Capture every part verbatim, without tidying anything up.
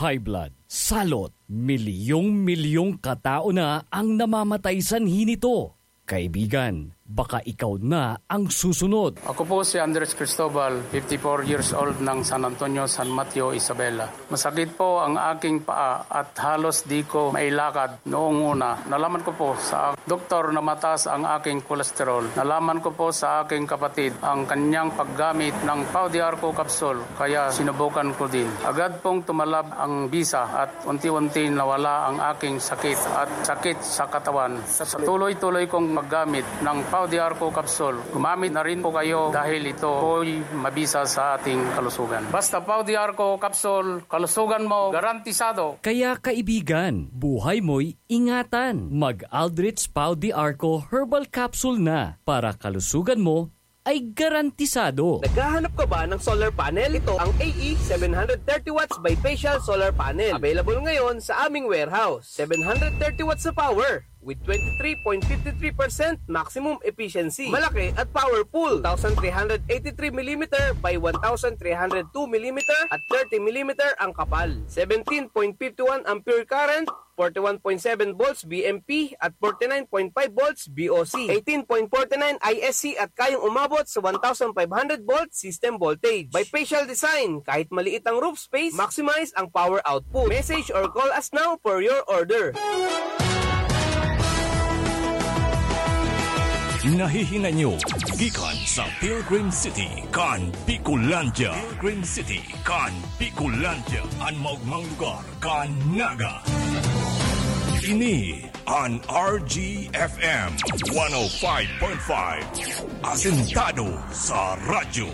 high blood, salot, milyong-milyong katao na ang namamatay sanhi nito. Kaibigan, baka ikaw na ang susunod. Ako po si Andres Cristobal, fifty-four years old, ng San Antonio, San Mateo, Isabela. Masakit po ang aking paa at halos di ko mailakad noong una. Nalaman ko po sa doktor na mataas ang aking kolesterol. Nalaman ko po sa aking kapatid ang kanyang paggamit ng Pau de Arco capsule, kaya sinubukan ko din. Agad pong tumalab ang bisa at unti-unti nawala ang aking sakit at sakit sa katawan. Sa tuloy-tuloy kong paggamit ng Pau de Arco capsule, gumamit na rin po kayo dahil ito po'y mabisa sa ating kalusugan. Basta Pau de Arco capsule, kalusugan mo garantisado. Kaya kaibigan, buhay mo'y ingatan. Mag-Aldrich Pau de Arco Herbal Capsule na para kalusugan mo ay garantisado. Naghahanap ka ba ng solar panel? Ito ang A E seven hundred thirty watts bifacial solar panel. Available ngayon sa aming warehouse. Seven hundred thirty watts na power with twenty-three point fifty-three percent maximum efficiency. Malaki at powerful. Two thousand three hundred eighty-three millimeter by one thousand three hundred two millimeter at thirty millimeter ang kapal. Seventeen point fifty-one ampere current, forty-one point seven volts B M P at forty-nine point five volts B O C, eighteen point forty-nine I S C at kayang umabot sa one thousand five hundred volt system voltage. Bifacial design, kahit maliit ang roof space, maximize ang power output. Message or call us now for your order. Nahihinay nyo gikan sa Pilgrim City kan Bicolandia. Pilgrim City kan Bicolandia, an maogmang lugar kan Naga. Ini an R G F M one oh five point five, asentado sa radyo.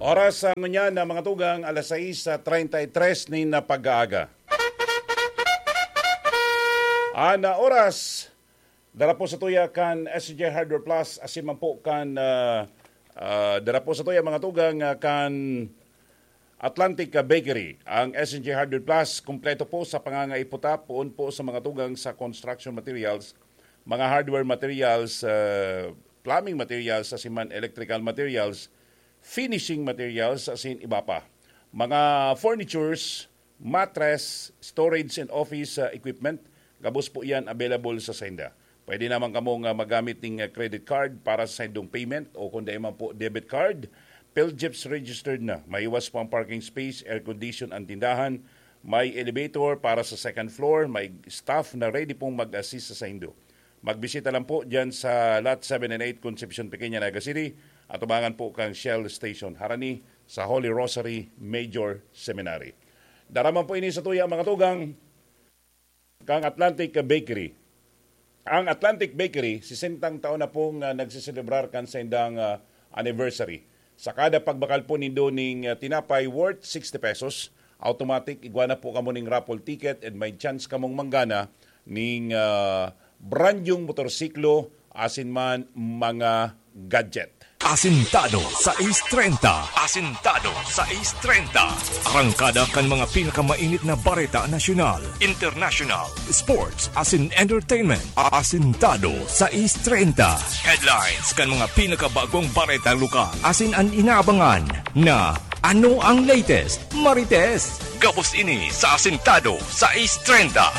Oras sa ngunyan na mga tugang, alas sais treinta y tres nin pag-aaga. An oras, dara po sa tuya kan S J Hardware Plus, asin man po kan, ah, ah, dara po sa tuya mga tugang, ah, kan Atlantic, ah, Bakery. Ang S J Hardware Plus, kompleto po sa pangangaiputa, poon po sa mga tugang sa construction materials, mga hardware materials, ah, plumbing materials, asin man electrical materials, finishing materials, asin iba pa. Mga furnitures, mattress, storage and office, ah, equipment, gabos po yan available sa sainda. Pwede naman kamong, ah, magamit ning, ah, credit card para sa saindong payment o kung dai man po debit card. PhilGEPS registered na. Maiwas po ang parking space, air condition ang tindahan. May elevator para sa second floor. May staff na ready pong mag-assist sa saindo. Magbisita lang po dyan sa Lot seven and eight, Concepcion Pequeña, Naga City, atubangan po kan Shell Station, harani sa Holy Rosary Major Seminary. Dara man po ini sa tuya, mga tugang, kang Atlantic Bakery. Ang Atlantic Bakery, sesentang taon na pong, ah, nagseselebrar kan saindang, ah, anniversary. Sa kada pagbakal po nindo ning, ah, tinapay worth sixty pesos, automatic, igwa na po kamo ning raffle ticket and may chance kamong manggana ning, ah, brand yung motorsiklo, asin man mga gadget. Asintado sais treinta. Asintado sais treinta. Arangkada kan mga pinakamainit na bareta nasyonal, international, sports, asin entertainment. Asintado sais treinta. Headlines kan mga pinakabagong bareta lokal. Asin an inaabangan na ano ang latest, Marites. Gabos ini sa Asintado sais treinta.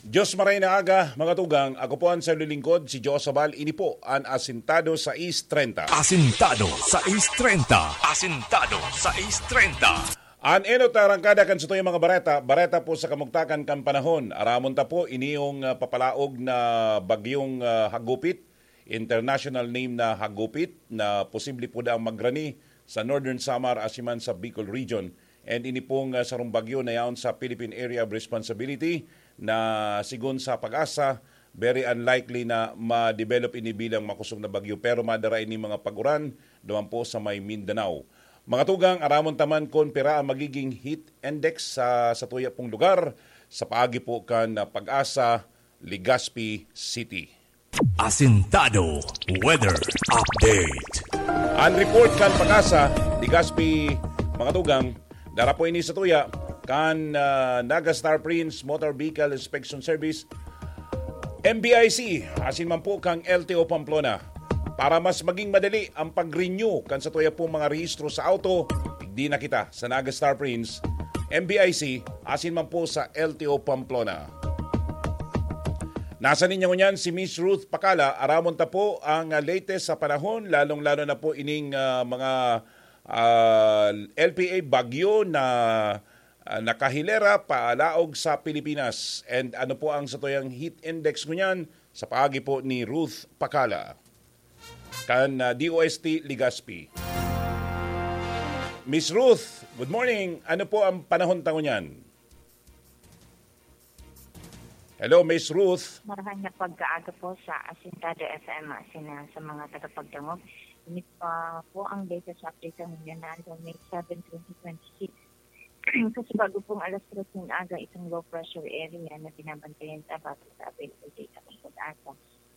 Diyos maray na aga, mga tugang. Ako po ang sayo lingkod, si Joe Sabal. Ini po an Asintado sais treinta. Asintado sais treinta. Asintado sais treinta. An enot na arangkada kan satuyang mga bareta, bareta po sa kamugtakan kan panahon. Aramon ta po, ini yung, ah, papalaog na bagyong, ah, hagupit, international name na hagupit, na posible po daang magrani sa Northern Samar asin man sa Bicol Region. And ini pong, ah, sarong bagyo na yaon sa Philippine Area of Responsibility na, sigon sa PAGASA, very unlikely na ma-develop ini bilang makosog na bagyo, pero madara ini mga pag-uran duman po sa may Mindanao. Mga tugang, aramon ta man kun pira ang magiging heat index sa, sa tuya pong lugar sa paagi po kan, ah, PAGASA, Legazpi City. Asintado Weather Update. An report kan PAGASA, Legazpi, mga tugang, dara po ini sa tuya kan, ah, Naga Star Prince Motor Vehicle Inspection Service, M V I C, asin man po kang L T O Pamplona. Para mas maging madali ang pag-renew kan satuya pong mga rehistro sa auto, digdi na kita sa Naga Star Prince, M B I C, asin man po sa L T O Pamplona. Nasa linya ngunyan si Miss Ruth Pakala. Aramon ta po ang, ah, latest sa panahon, lalong-lalo na po ining, ah, mga, ah, L P A bagyo na, ah, nakahilera palaog sa Pilipinas. And ano po ang satuyang heat index ngunyan? Sa paagi po ni Ruth Pakala kan, ah, D O S T Legazpi. Miss Ruth, good morning. Ano po ang panahon ta ngunyan? Hello, Miss Ruth. Marahay na pagkaaga po sa Asintado F M, ah, sina, sa mga tagapagdangog. Ini pa po ang latest update ng Mindanao, May seven, twenty twenty-six. Kasi bago pong alas tres ng aga, itong low pressure area na binabantayan sa base sa available data ng PAGASA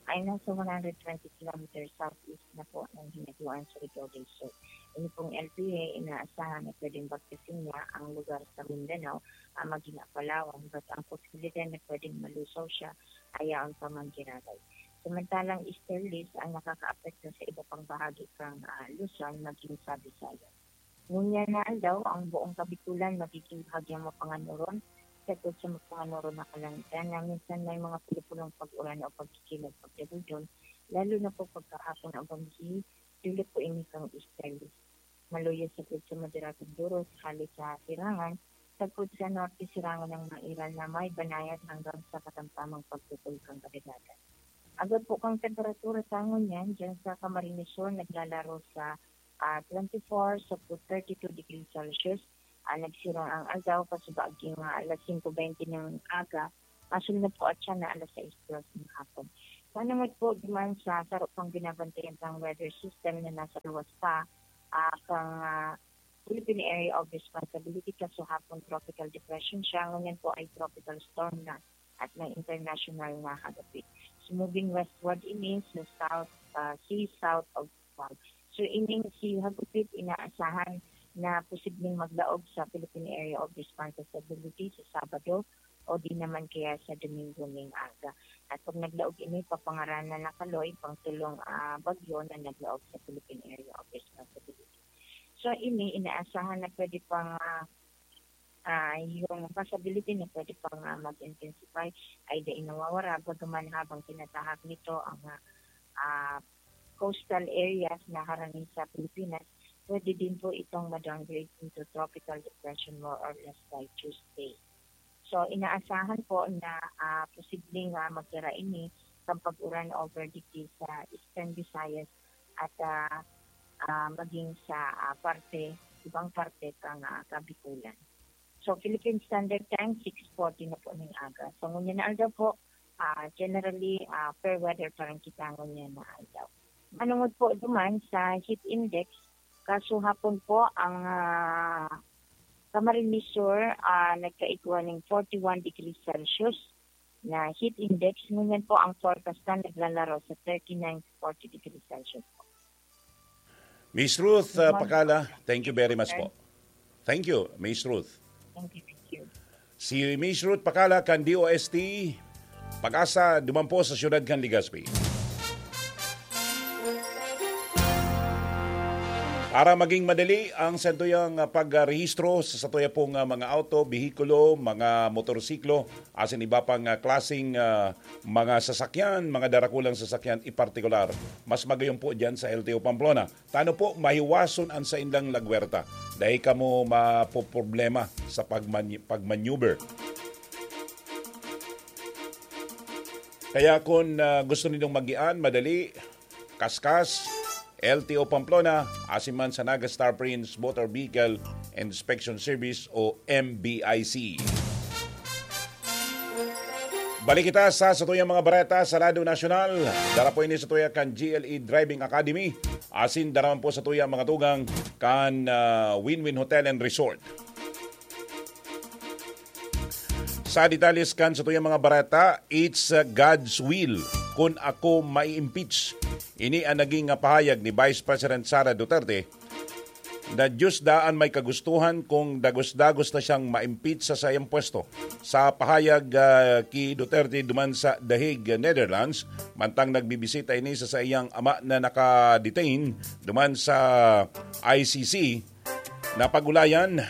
ay nasa one hundred twenty kilometers southeast na po ng Hinatuan, Surigao del Sur. Ini pong L P A, inaasahan na pwedeng bagtasin niya ang lugar sa Mindanao, ah, maging Apalawan, but ang posibilidad na pwedeng malusaw siya ay yaon pa man giraray. Samantalang easterlies ang nakakaapekto sa iba pang bahagi kang, ah, Luzon, maging sa Visayas. Ngunyan na aldaw, ang buong Kabikulan magiging bahagyang mapanganuron, sagkod sa mapanganuron na kalangitan na minsan may mga pulupulong pag-uran o pagkikilag pagdagudon, lalo na po pagkahapon o gabi, dulot po ini kan easterlies. Maluya sagkod sa moderadong duros hale sa sirangan, sagkod sa norte sirangan ng mairal na may banayad hanggang sa katamtamang pagputol kan kadagatan. Agad po kang temperatura sa ngunyan, dyan sa Camarines Sur, naglalaro sa, ah, twenty-four sagkod thirty-two degrees Celsius. Ah, nagsirang ang aldaw, kasubaaging, ah, alas singko bente ng aga, masunod po at siya na alas sais dos ng hapon. Panungod po duman sa saro pang binabantayan pang weather system na nasa luwas pa, ah, kang, ah, Philippine Area of Responsibility, kasuhapon tropical depression siya, ngunyan po ay tropical storm na at may international na hagupit. So, moving westward ini sa south, ah, sea south of Guam. So, ining si hagupit inaasahan na posibleng maglaog sa Philippine Area of Responsibility sa Sabado o di naman kaya sa Domingo ning aga. At pag naglaog ini, papangaranan na kaloy pang tulong, ah, bagyo na naglaog sa Philippine Area of Responsibility. So, ini inaasahan na pwede pang, ah, ah, yung possibility na pwede pang, ah, mag-intensify ay dai nawawara, bagaman habang tinatahak nito ang, ah, ah, coastal areas na harani sa Pilipinas, pwede din po itong ma-downgrade into tropical depression more or less by Tuesday. So, inaasahan po na, ah, posibleng, ah, magdara ini kan pag-uran over digdi sa Eastern Visayas at, ah, ah, maging sa, ah, parte, ibang parte kang, ah, Kabikulan. So, Philippine Standard Time, six forty na po ning aga. So, ngunyan na aldaw po, ah, generally, ah, fair weather pa rin kita ngunyan na aldaw. Manungod po duman sa heat index, kasuhapon po ang, ah, Camarines Sur, ah, nagkaigwa ning forty-one degrees Celsius na heat index. Ngunyan po ang forecast na naglalaro sa thirty-nine to forty degrees Celsius. Miss Ruth, uh, Pakala, thank you very much po. Thank you, Miss Ruth. Thank you, thank you. Si Miss Ruth Pakala kan D O S T PAGASA, duman po sa siyudad kan Legazpi. Para maging madali ang sentuyang, ah, pagrehistro sa satuya pong, ah, mga auto, behikulo, mga motorsiklo, asin iba pang, ah, klaseng, ah, mga sasakyan, mga darakulang sasakyan, ipartikular, mas magayon po diyan sa L T O Pamplona. Tano po mahiwason an saindang lagwerta. Dai kamo mapoproblema sa pagman-, pagmaneuver. Kaya kun, ah, gusto ninyong magian, madali, kaskas, L T O Pamplona, asin man sa Naga Star Prince Motor Vehicle Inspection Service o M B I C. Balik kita sa satuyang mga bareta sa Radyo Nasyonal. Dara po ini satuya kan G L E Driving Academy. Asin dara man po satuya mga tugang kan, ah, Win-Win Hotel and Resort. Sa detalles kan satuyang mga bareta, it's, uh, God's will kun ako mai-impeach. Ini ang naging, uh, pahayag ni Vice President Sara Duterte na Diyos daa an may kagustuhan kung dagos-dagos na siyang ma-impeach sa saiyang pwesto. Sa pahayag, ah, ki Duterte duman sa The Hague, Netherlands, mantang nagbibisita ini sa saiyang ama na naka-detain duman sa I C C, napag-ulayan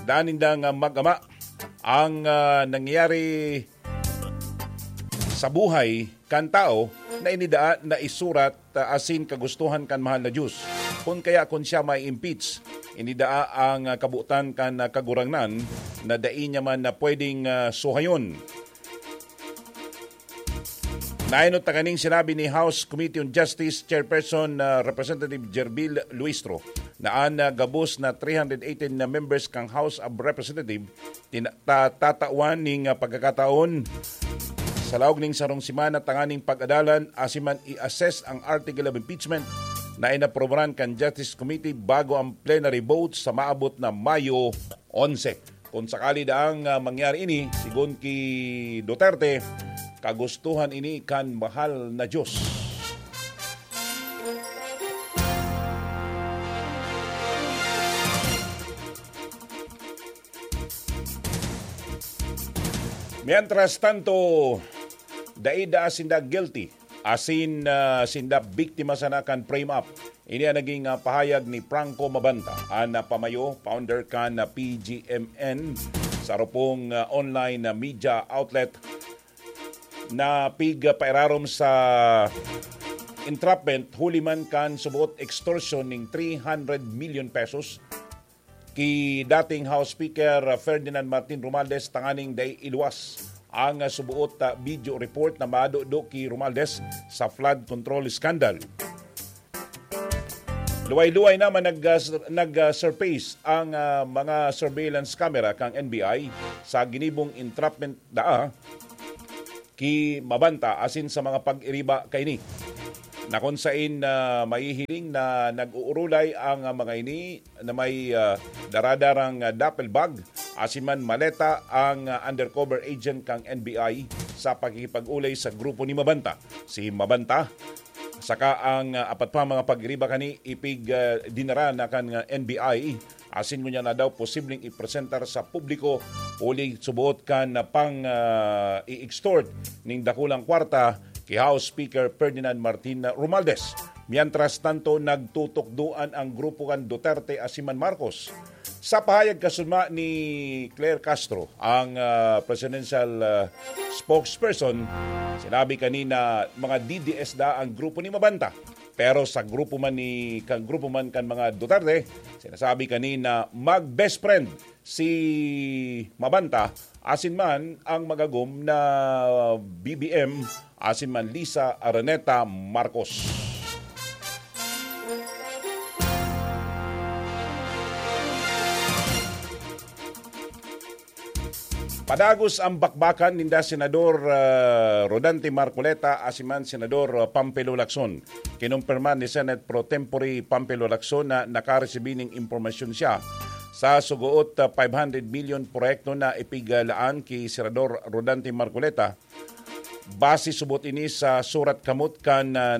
daa nindang, ah, mag-ama ang, ah, nangyayari sa buhay kan tawo na ini daa naisurat, ah, asin kagustuhan kan mahal na Diyos. Kun kaya, kun siya mai-impeach, ini daa ang, ah, kabotan kan, ah, Kagurangnan na dai niya man na pwedeng, ah, suhayon. Naenot ta kaning sinabi ni House Committee on Justice Chairperson, ah, Representative Gerbil Luistro, na an, ah, gabos na three hundred eighteen na members kan House of Representatives tina-, ta-, tatawan ning, ah, pagkakataon sa laog ning sarong semana tanganing pag-adalan asin man i-assess ang Article of Impeachment na inaprobahan kan Justice Committee bago ang plenary vote sa maabot na Mayo onse. Kung sakali daang, ah, mangyari ini, sigon ki Duterte, kagustuhan ini kan mahal na Diyos. Mientras tanto, dai daa sinda guilty, asin, ah, sinda biktima sana kan frame up. Ini an naging, ah, pahayag ni Franco Mabanta, an, ah, pamayo, founder kan, ah, P G M N, sa rupong, ah, online na media outlet na pigpairarom sa entrapment huli man kan suboot extortion ning three hundred million pesos ki dating House Speaker Ferdinand Martin Romualdez tanganing dai iluwas ang suboot, ah, video report na madudo ki Romualdez sa flood control scandal. Luway-luway naman nag, ah, s-, nag, ah, surface ang, ah, mga surveillance camera kan N B I sa ginibong entrapment daa ki Mabanta asin sa mga pag-iriba kaini, na kun sain, ah, mahihiling na nag-uurulay ang, ah, mga ini na may, ah, daradarang, ah, duffel bag asin man maleta ang, ah, undercover agent kan N B I sa pakikipag-olay sa grupo ni Mabanta. Si Mabanta saka ang, ah, apat pa mga pag-iriba kani ipig, ah, dinara na kan, ah, N B I asin ngunyan na daw posibleng ipresentar sa publiko huli suboot kan, ah, pang, ah, i-extort ning dakulang kwarta ki House Speaker Ferdinand Martin Romualdez. Mientras tanto, nagtutukdoan ang grupo kan Duterte asin man Marcos. Sa pahayag kasunma ni Claire Castro, ang, ah, presidential, ah, spokesperson, sinabi kanina mga D D S da ang grupo ni Mabanta. Pero sa grupo man ni, kan grupo man kan mga Duterte, sinasabi kanina mag-best friend si Mabanta asin man ang magagom na B B M asin man Lisa Araneta Marcos. Padagos ang bakbakan ninda Senador, ah, Rodante Marcoleta asin man Senador, ah, Pampilo Lacson. Kinumpirma ni Senate Pro Tempore Pampilo Lacson na nakaresibi ning impormasyon siya sa sugoot, ah, five hundred million proyekto na ipiglaan ki Senador Rodante Marcoleta. Base subot ini sa surat kamot kan, ah,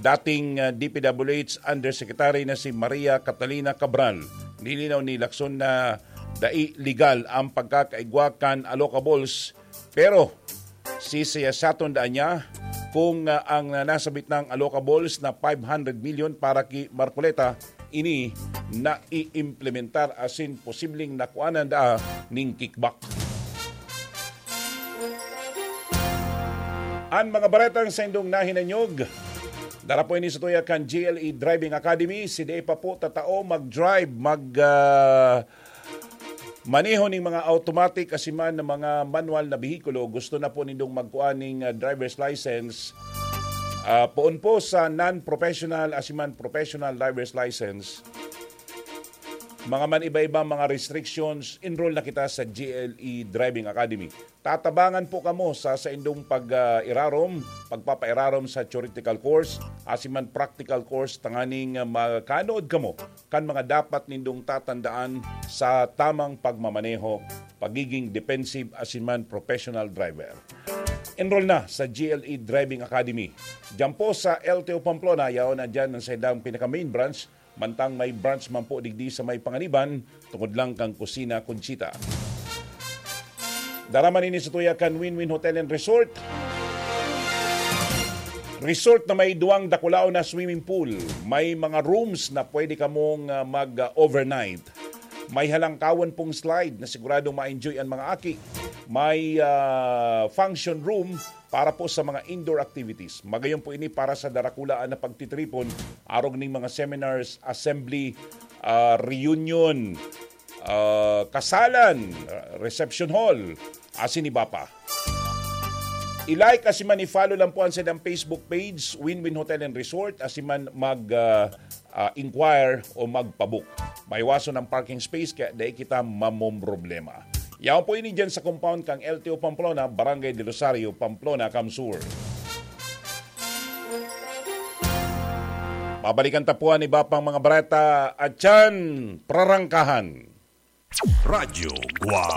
dating, ah, D P W H Undersecretary na si Maria Catalina Cabral. Nilinaw ni Lacson na dai legal ang pagkakaigwa kan allocables, pero sisiyasaton daan niya kung, ah, ang nasabit nang allocables na five hundred million para ki Marcoleta ini naiimplementar asin posibleng nakuanan daa ning kickback. An mga baretang saindong nahinanyog, dara po ini sa tuya kan G L E Driving Academy. Si Dei pa po tatao mag-drive, mag, ah, maneho ning mga automatic asin man na mga manual na behikulo. Gusto na po nindong magkuha ning, ah, driver's license. Ah, poon po sa non-professional asin man professional driver's license, mga man iba-ibang mga restrictions, enroll na kita sa G L E Driving Academy. Tatabangan po kamo sa saindong pag, ah, irarom, pagpapairarom sa theoretical course, asin man practical course, tanganing, ah, makanood kamo kan mga dapat nindong tatandaan sa tamang pagmamaneho, pagiging defensive, asin man professional driver. Enroll na sa G L E Driving Academy. Diyan po sa L T O Pamplona, yaon na diyan ang saindang pinaka-main branch, Mantang may branch man po digdi sa may Panganiban, tungod lang kan Kusina Conchita. Dara man ini sa tuya kan Win-Win Hotel and Resort. Resort na may duwang dakulaon na swimming pool. May mga rooms na pwede kamong, ah, mag-overnight. May halangkawan pong slide na siguradong ma-enjoy ang mga aki. May, ah, function room para po sa mga indoor activities. Magayon po ini para sa darakulaan na pagtitripon, arog ning mga seminars, assembly, ah, reunion, ah, kasalan, ah, reception hall, asin iba pa. I-like asin man i-follow lang po ang sadang Facebook page, Win-Win Hotel and Resort, asin man mag, ah, ah, inquire o magpabook. Maiwason ang parking space kaya dai kita mamomroblema. Yaon po ini dyan sa compound kang L T O Pamplona, Barangay del Rosario, Pamplona, Kamsur. Babalikan ta po an iba pang mga bareta at yan, prarangkahan. Radyo Guwang.